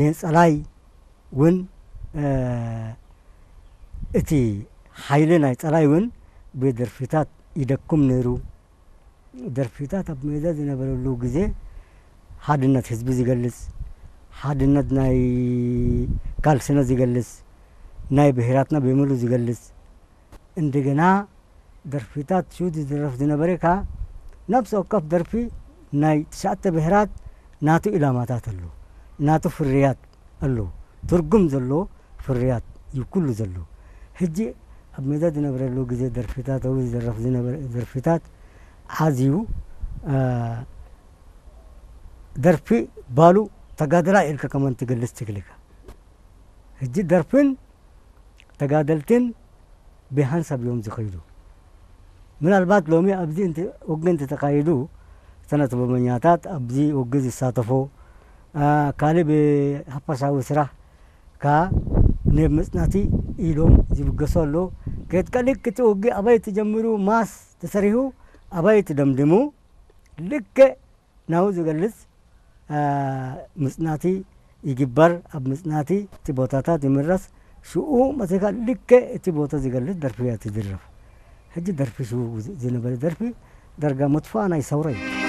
ንጸላይ እውን እቲ ሓይሊ ናይ ጸላይ እውን ብደርፊታት ይደኩም ነይሩ። ደርፊታት ኣብ ሜዳ ዝነበረሉ ግዜ ሓድነት ህዝቢ ዝገልጽ፣ ሓድነት ናይ ካልስና ዝገልጽ፣ ናይ ብሄራትና ብምሉ ዝገልጽ፣ እንደገና ደርፊታት ሽው ዝድረፍ ዝነበረ ከኣ ነፍሲ ወከፍ ደርፊ ናይ ትሽዓተ ብሄራት ናቱ ኢላማታት ኣሎ፣ ናቱ ፍርያት ኣሎ፣ ትርጉም ዘሎ ፍርያት እዩ ኩሉ ዘሎ። ሕጂ ኣብ ሜዳ ዝነበረሉ ግዜ ደርፊታት፣ ኣብኡ ዝድረፍ ዝነበረ ደርፊታት ኣዝዩ ደርፊ ባሉ ተጋደላ ኢልካ ከማን ትገልጽ ትክልካ። ሕጂ ደርፍን ተጋደልትን ብሓንሳብ እዮም ዝኸይዱ። ምናልባት ሎሚ ኣብዚ ውግ እንተተኻይዱ፣ ሰነ ጥበበኛታት ኣብዚ ውግ ዝሳተፎ፣ ካልእ ብሓፈሻዊ ስራሕ ከኣ ንብ ምጽናቲ ኢሎም ዝብገሱ ኣሎ። ከየትቀልክ እቲ ውግ ኣበይ ትጀምሩ፣ ማስ ተሰሪሁ ኣበይ ትደምድሙ፣ ልክዕ ናው ዝገልጽ ምጽናቲ ይግበር። ኣብ ምጽናቲ እቲ ቦታታት ይምረስ። ሽኡ መጺኻ ልክዕ እቲ ቦታ ዝገልጽ ደርፊ እያ ትድረፍ። ሕጂ ደርፊ ሽኡ ዝነበረ ደርፊ ዳርጋ መጥፋእ ናይ ሰውራ እዩ።